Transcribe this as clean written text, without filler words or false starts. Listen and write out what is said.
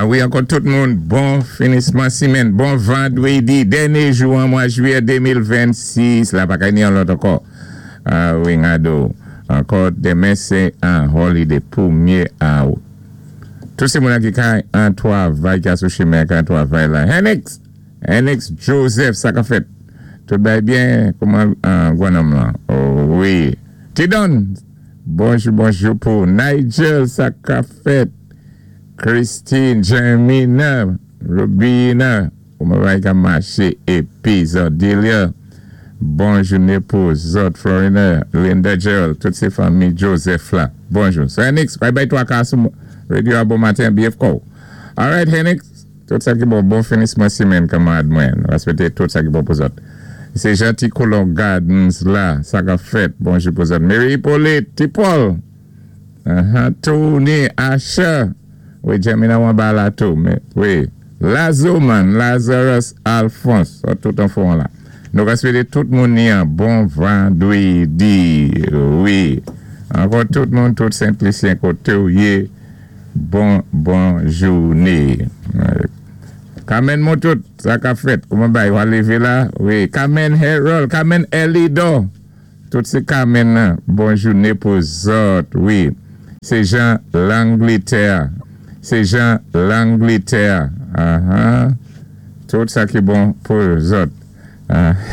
Wi, ankò tout moun, bon finisman simenn, bon vandwédi, dènyé jou an mwa jwiyè 2026, la pa ka ni an lòt ankò. A wi, ngado. Ankò denmen sé an holiday pwémyé out. Tout sé moun ki kay an twavay ki sou chimen an twavay la. Henix! Henix Joseph, sa ka fèt. Tout bay byen, kouman gwanòm lan? Oh wi. Tidon! Bonjou, bonjou pou Nigel, sa ka fèt. Christine, Jermina, Rubina, kouman bay ka maché épi Zordelia. Bon jouné pou zòt Florina, Linda Gerald, tout sé fanmi Joseph la. Bonjou. So Henix, bye bye twa ka sou radio a bon maten, BF Call. All right, Henix, tout sa ki bon, bon finisman simenn kanmarad mwen. Réspèkté tout sa ki bon pou zòt. Sé Janti Colon Gardens la, sa ka fèt. Bonjou pou zòt. Mary Hippolyte, Ti Paul. Tony, Asha. Wi, Jamina Wamba la tou. Mais, wi. Lazoman, Lazarus Alphonse. Tout an fon la. Nou réspèkté tout moun ni an bon vandwédi. Wi. Ankò tout moun, tout Sent-Lisyen koté ou yé. Bon jouné. Carmen Moutout, sa ka fèt. Kouman bay, ou lévé la? Wi. Carmen Harold, Carmen Elidor. Tout sé Carmen, bon jouné pou zòt. Wi. Sé Jean L'Angleterre. Sé Jean L'Angleterre. Tout sa ki bon pou zòt.